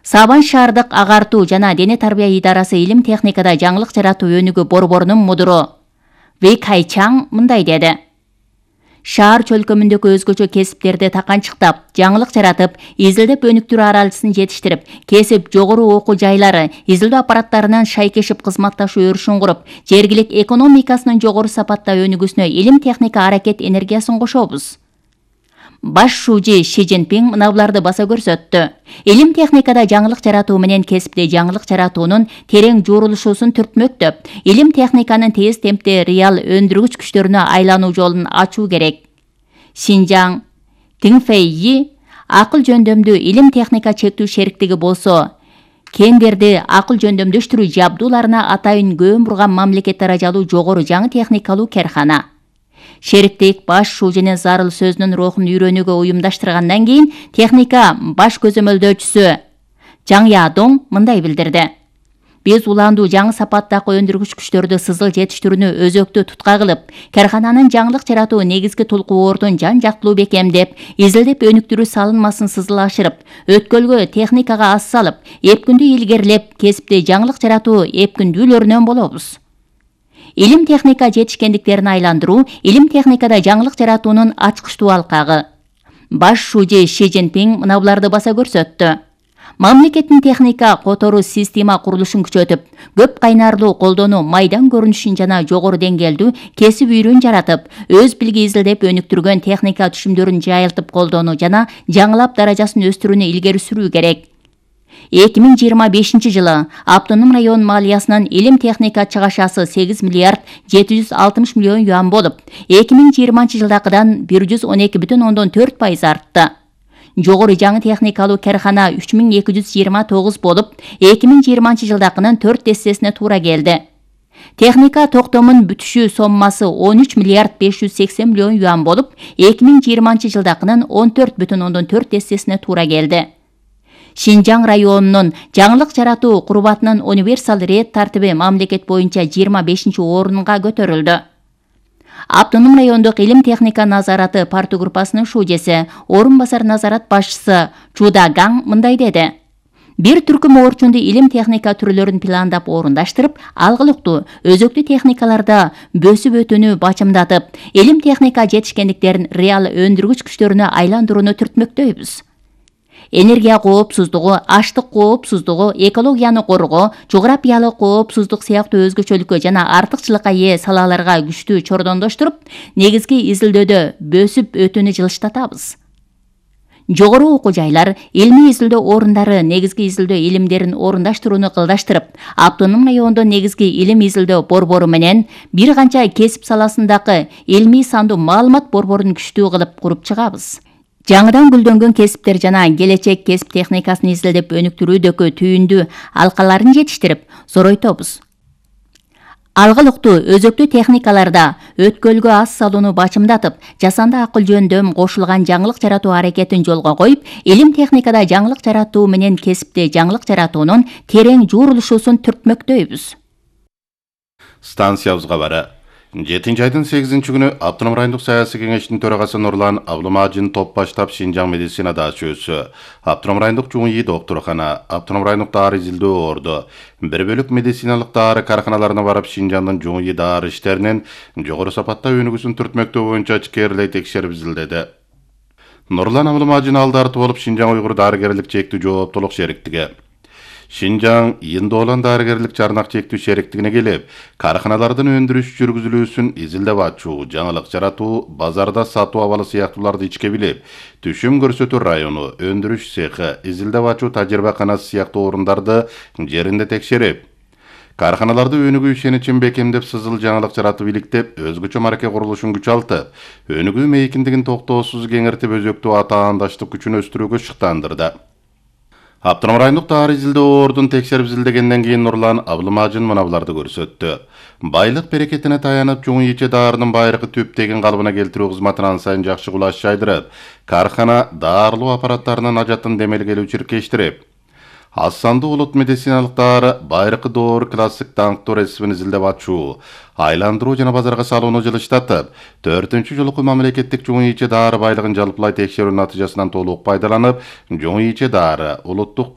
Сабан шаардык агартуу жана дене тарбия идарасы илим техникада жаңылык жаратуу өнүгүү борборунун мудуру Вэй Кайчаң мындай деди. Шаар чөлкөмүндөгү өзгөчө кесиптерди таканчыктап, жаңылык жаратып, изилдеп өнүктүрүү аралысын жетиштирип, кесип жогору окуу жайлары, изилдөө аппараттарынын шайкешип кызматташуу өрүшүн куруп, жергилик экономикасынын жогору сапатта өнүгүүсүнө илим техника аракет энергиясын кошобуз. Баш шужи Ши Цзиньпин мына буларды баса көрсөттү. Илим техникада жаңылык жаратуу менен кесипте жаңылык жаратуунун терең жуурулушуусун түртмөктөп, илим техниканын тез темпте реал өндүргүч күчтөрүнө айлануу жолун ачуу керек. Шинжаң Тиңфэйи акыл жөндөмдүү илим техника чектүү шериктиги болсо, кендерди акыл жөндөмдөштүрүү жабдууларына атайын көң бурган мамлекет даражалуу жогору жаңы техникалуу керкана. Шериктик баш шужинин зарыл сөзүнүн рухун үйрөнүүгө уюмдаштыргандан кийин техника баш көзөмөлдөөчүсү Жаң Ядоң мындай билдирди. Биз уландуу жаңы сапаттагы өндүргүч күчтөрдү сызыл жетиштирүүнү өзөктү тутка кылып, керкананын жаңылык жаратуу негизги тулкуордун жан жактылуу бекемдеп, изилдеп өнүктүрүү салынмасын сызыл ашырып, өткөлгө техникага аз салып, эпкүндү илгерилеп, кесипте жаңылык жаратуу эпкүндүүлөрүнөн болобуз. Илим техника жетишкендиктерин айландыруу илим техникада жаңылык жаратуунун ачкычтуу алкагы. Баш шужи Ши Цзиньпин мына буларды баса көрсөттү. Мамлекеттин техника которуу система курулушун күчөтүп, көп кайнарлуу колдонуу майдан көрүнүшүн жана жогору деңгээлдүү кесип үйрөн жаратып, өз билги изилдеп өнүктүргөн техника түшүмдөрүн жайылтып колдонуу жана жаңылап даражасын өстүрүүнү илгери сүрүү керек. 2025 жылы Автоном район малиясынын илим техника чыгашасы 8 миллиард 760 миллион юан болуп, 2020 жылдакыдан 112,4% артты. Жогору жаңы техникалуу керкана 3229 болуп, 2020 жылдакынын 4 дестесине туура келди. Техника токтомун бүтүшү соммасы 13 миллиард 580 миллион юан болуп, 2020 жылдакынын 14,4 дестесине туура келди. Шинжаң районунун жаңылык жаратуу курбатынын универсал рет тартиби мамлекет боюнча 25 орунга көтөрүлдү. Автоном райондук илим техника назараты парту группасынын шужеси, орун басар назарат башчысы Чуда Гаң мындай деди. Бир түркүм орчунду илим техника түрлөрүн пландап орундаштырып, алгылыктуу, өзөктүү техникаларда бөсүп өтүүнү бачымдатып, илим техника жетишкендиктерин реал өндүргүч күчтөрүнө айландырууну түртмөктөйбүз. Энергия коопсуздугу, аштык коопсуздугу, экологияны коргоо, жографиялык коопсуздук сыяктуу өзгөчөлүккө жана артыкчылыкка ээ салаларга күчтүү чордондоштуруп, негизги изилдөөдө бөсүп өтүүнү жылыштатабыз. Жогору окуу жайлар, илмий изилдөө орундары негизги изилдөө илимдерин орундаштырууну кылдаштырып, Автоном райондо негизги илим изилдөө борбору менен бир канча кесип саласындагы илмий сандуу маалымат борборун күчтүү кылып куруп чыгабыз. Жаңыдан гүлдөнгөн кесиптер жана келечек кесип техникасын изилдеп өнүктүрүүдөгү түйүндүү алкаларын жетиштирип, зоройтобуз. Алгылыктуу, өзөктүү техникаларда өткөлгө аз салууну бачымдатып, жасанды акыл жөндөм кошулган жаңылык жаратуу аракетин жолго коюп, илим техникада жаңылык жаратуу менен кесипте жаңылык жаратуунун терең жуурулушуусун түртмөктөйбүз. Станциябызга бара. 7 айдын 8 күнү Автоном райондук саясий кеңештин төрагасы Нурлан Абдулмажин топ баштап Шинжаң медицинада чөйсү, Автоном райондук ЧУИ доктуркана, Автоном райондук дары изилдөө орду, бир бөлүк медициналык дары карканаларына барып Шинжаңдын ЧУИ дары иштеринин жогору сапатта өнүгүүсүн түртмөктөө боюнча ичкерилей текшерип изилдеди. Нурлан Абдулмажин алдарты болуп Шинжаң уйгур дарыгерлик чектүү жооптуулук шериктиги, Шинжаң Индолан дарыгерлик жарнак чектүү шериктигине келип, карканалардын өндүрүш жүргүзүлүүсүн изилдеп ачуу, жаңылык жаратуу, базарда сатуу абалы сыяктууларды ичке билип, түшүм көрсөтүү району, өндүрүш цехи, изилдеп ачуу тажрыйбаканасы сыяктуу орундарды жеринде текшерип, карканаларды өнүгүү ишеничин бекемдеп, сызыл жаңылык жаратып иликтеп, өзгөчө мараке курулушун күчалтып, өнүгүү мейкиндигин токтоосуз кеңиртип, өзөктүү атаандаштык күчүн өстүрүүгө шыктандырды. Автоном райондук дары изилдөө ордун текшерип изилдегенден кийин Нурлан Абдулмажин мына буларды көрсөттү. Байлык берекетине таянып, ЧУИ дарынын байыркы түптеген калыбына келтирүү кызматынан сайын жакшы кулаш жайдырып, каркана дарылоо аппараттарынын ажатын демелгелүү чиркештирип, аз сандуу улут медициналык дары байыркы доор классик даңктуу рецептин изилдеп ачуу, айландыруу жана базарга салууну жылыштатып, 4-чү жолку мамлекеттик ЧУИ дары байлыгын жалпылай текшерүү натыйжасынан толук пайдаланып, ЧУИ дары улуттук